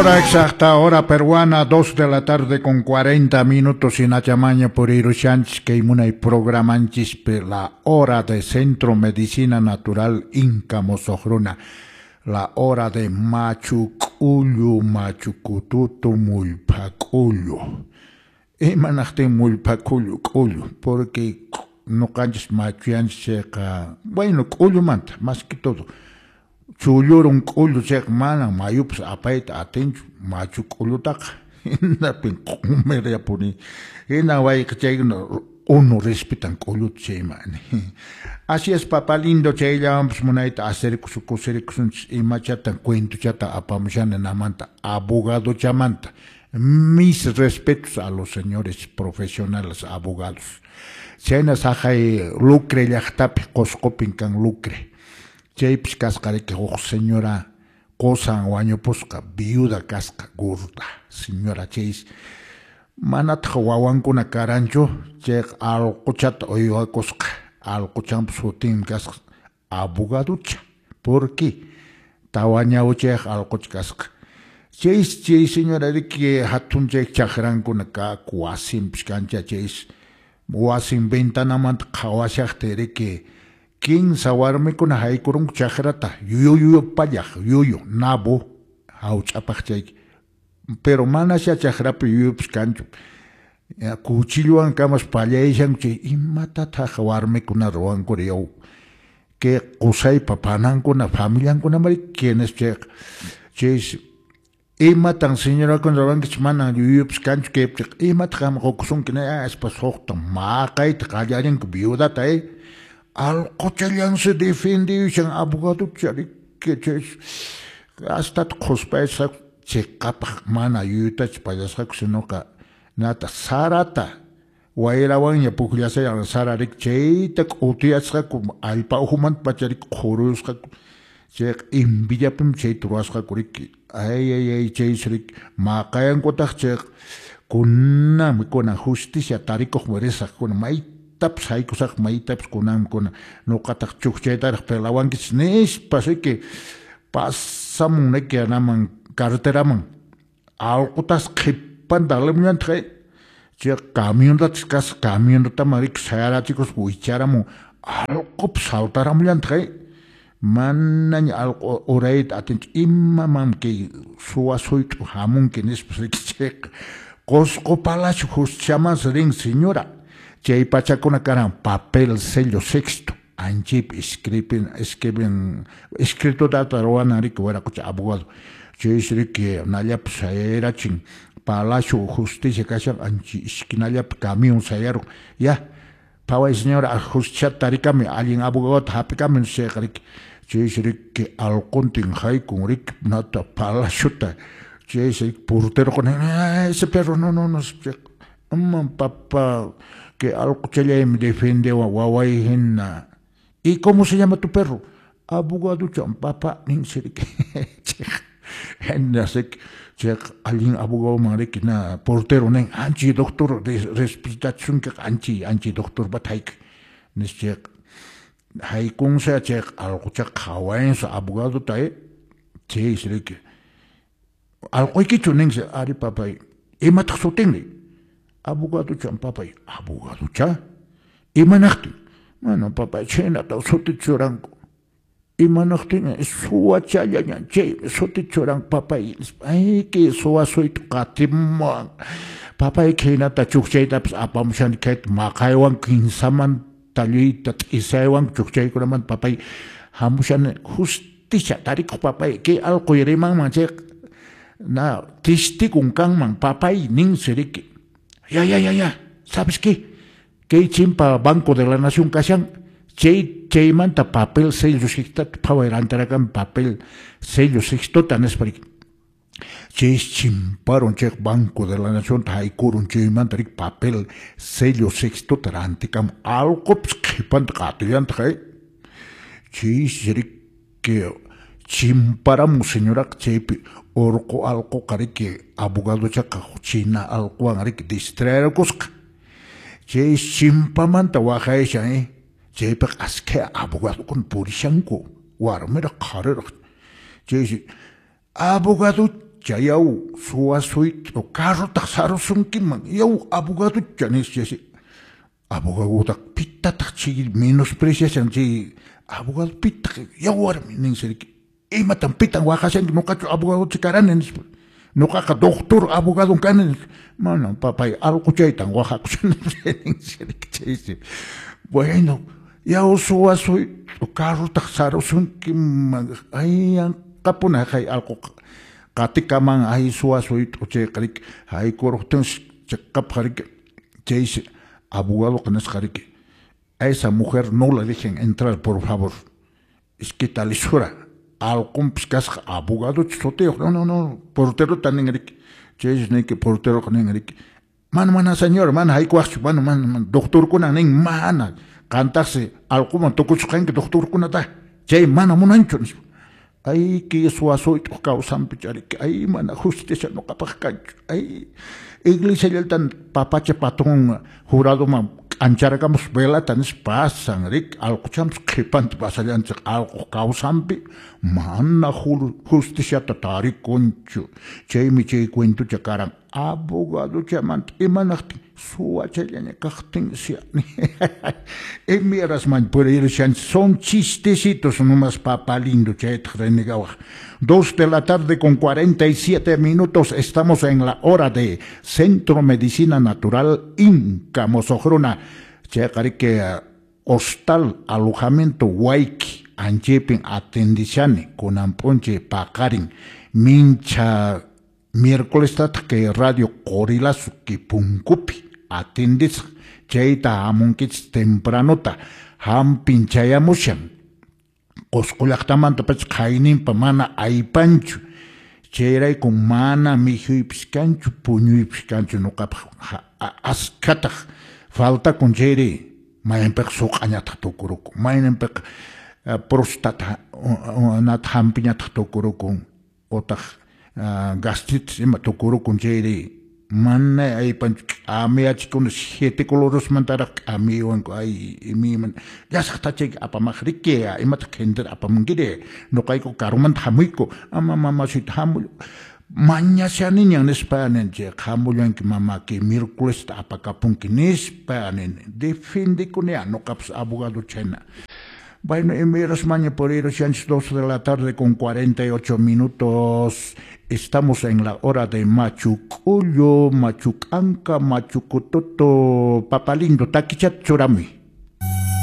Hora exacta, hora peruana, 2 de la tarde con 40 minutos en Achamaña por Irushanchis, que munay programanchis la hora de Centro Medicina Natural Inca Mosojruna, la hora de Machu K'ullu, Machu Kututu, Mullpa K'ullu. Imanaqtin Mullpa K'ullu, K'ullu, porque nuqanchis machuyanchis chayqa, bueno, k'ullumanta, más que todo. Chullurun k'ullu chayqa mana mayupas apayta atinchu machu k'ullutaqa hinapin q'umiryapuni hina wayqa chaykuna uno respetan k'ulluta chaymani. Así es, papá lindo, chayllawanpas munayta acerkusun kusirikusunchis imachatan cuentochata apamushani namanta abogadochamanta. Mis respetos a los señores profesionales abogados. Chayna saqay Lucre llaqtapi Qusqupin kan Lucre. Chaypis kasqa riki huk señora qusan wañupusqa viuda kasqa gorda señora chaysi manataq wawankuna karanchu chayqa allquchata uywakusqa allquchanpa sutinmi kasqa abogaducha. ¿Por qué? Tawa ñawchayqa allqucha kasqa. Chaysi chay señora riki hatun chay chakrankuna kaku wasinpis kancha chaysi wasin ventanamanta qhawashaqtin riki kinsa warmikuna haykurunku chakrata yuyu pallaq yuyu nabo hawch'apaq chayki pero manasya chakrapi yuyupas kanchu cuchilluwan kamas pallayashanku chay imatataq warmikuna ruwankuri yaw kay qusaypa panankuna familiankunamari quienes chayqa chaysi imatan señorakuna ruwankichik manan yuyupas kanchu kaypiqa imataq qam qukusunki nispa suqta maqayta qallarinku viudata allquchallansi defendiyushan abogaducha riki chaysi hastata qhuspayasqaku chiqapaq mana yuyutachu pallasqaku sinoqa nata sarata wayrawanña pukllashayan sara riki chayta k'utiyasqaku allpa ukhumanta pacha riki qhurusqaku chayqa envidiapimi chayta ruwasqaku riki ay ay ay chaysi riki maqayankutaq chayqa kunanmi kunan justicia tarikuqmi risaq kuna maytapas haykusaq maytapas kunanmi kuna nuqataq chukchaytaraq pelawankichis nispa riki pasamun riki anaman carreteraman allqutas qhipanta alimllantaq chay camiontatas kasqa camiontaman riki sayarachikuspa wicharamun allqupas saltaramullantaj manaña allqu urayta atinchu imaman kay suwa suyt'u hamunki nispas riki chayqa Qusqu Palacio justiciamansi rin señora chay pachakuna karan papel sello sexto anchaypi escriben escriben escriturata ruwanan riki wiraqucha abogado chaysi riki nallapi sayarachin Palacio Justicia kashan ancha esquinallapi camión sayarun ya phaway señora justiciata tarikamuy allin abogadota hap'ikamuy chayqa riki chaysi riki allquntin haykun riki nata palaciota chaysi porteroqa nin ese perro no no no aman papa que allquchallaymi defendewan waway hina. ¿Y cómo se llama tu perro? Abogaduchan papá ninsi riki chayqa chayqa allin abogadoman riki na portero nin anchi doctor respetachisunkiqa anchi anchi doctorpata hayka nispa chayqa haykunsa chayqa allquchaqa qhawayansa abogadota chaysi riki allquykichu ninsi ari papay imataq sutinri abogaduchan papay abogaducha imanaqtin mana papay chhaynata sutita churanku imanaqtin suwachallaña chay sutita churanku papay ay kay suwa suytu qatimuwan papay khaynata chukchaytapas apamushani kayta maqaywan kinsamanta lluyta t'isaywan chukchaykunamanta papay hamushani justicia tarikuq papay kay allquy rimanman chayqa na testigon kanman papay ninsi riki ya ya ya ya ¿sabes qué? Kay chimpa Banco de la Nación kashan chay chaymanta papel sello sextota phaway rantirakamuy papel sello sextota nispa riki chaysi chimparun chay Banco de la Nacionta haykurun chaymanta riki papel sello sextota rantikamun allqupas qhipanta qatillantaq chaysi riki chimparamun señoraqa chaypi urqu allquqa riki abogadochaqa china allquwan riki distraerkusqa chay chimpamanta waqayshan chaypiqa askha abogadokuna purishanku warmiraq qhariraq chaysi abogadocha Abogaducha yaw suwasuyt'u carrotaq sarusunkiman yaw abogaducha nispa abogadutaq pitataq chay menospreciashan chay abogado pitaq yaw warmi ninsi riki imatan pitan waqashanki nuqachu abogaducha karani nispa nuqaqa doctor abogadon kani nispa mana papay allquchaytan waqakushan ninsi riki chaysi bueno yaw suwasuyt'u carrotaq sarusunkiman ay yanqapuna hay allquqa qatikaman ay suwasuyt'u chayqa riki haykuruqtinsi chiqapqa riki chaysi abogadoqa nisqa riki a esa mujer no la dejen entrar por favor es que talisura allqunpis kasqa abogadochu sutiyuq no no no porterota nin riki chaysi niki porteroqa nin riki mana mana señor mana haykuwaqchu mana mana doctorkuna nin mana qantaqsi allquman tukuchisqanki doctorkunata chay mana munanchu nispa ay kay suwasuyt'uq kawsanpi riki ay mana justicia nuqapaq kanchu ay iglesiallatan papacha patrón juradoman k'ancharakamus velata nispa pasan riki allquchanpis qhipanta pasallanchik allquq kawsanpi mana justiciata tarikunchu chaymi chay cuentucha karan abogaduchamanta imanaqtin suwachallaña kaqtinsi Emiras man purirushanchik son chistecitos nomás papá lindo chaytaq renegawaq 2 de la tarde con 47 minutos estamos en la hora de Centro Medicina Natural Inca Mosoqruna chayqa riki hostal alojamiento Wayki anchaypin atendishani kunan p'unchay paqarin mincha miércolestataq kay radio Qorilazo Kipunkupi atendisaq chayta hamunkichis tempranota hampin chayamushan Qusqu llaqtamanta pacha qhayninpa mana aypanchu chayrayku mana mikhuypis kanchu puñuypis kanchu nuqapaq askhataq faltakun chayri mayninpiqa suq'añataq tukurukun mayninpiqa prostata nata hampiñataq tukurukun utaq gastritis ima tukurukun chayri mana aypanchu k'amiyachikuna siete colorosmantaraq k'amiywanku ay imayman llasaq tachayki apamaq riki imataq qhintira apamunkiri nuqayku karumanta hamuyku ama mamasuyta hamuy mañashaniñan nispa ninchik hamullanki mamaki miércolesta apakapunki nispa nini defendikuni nuqapas abogado chayna. Bueno, emiras maña por ir 2 de la tarde con 48 minutos. Estamos en la hora de Machucullo, Machucanca, Machucutoto, Papalindo, Taquichat, Churami.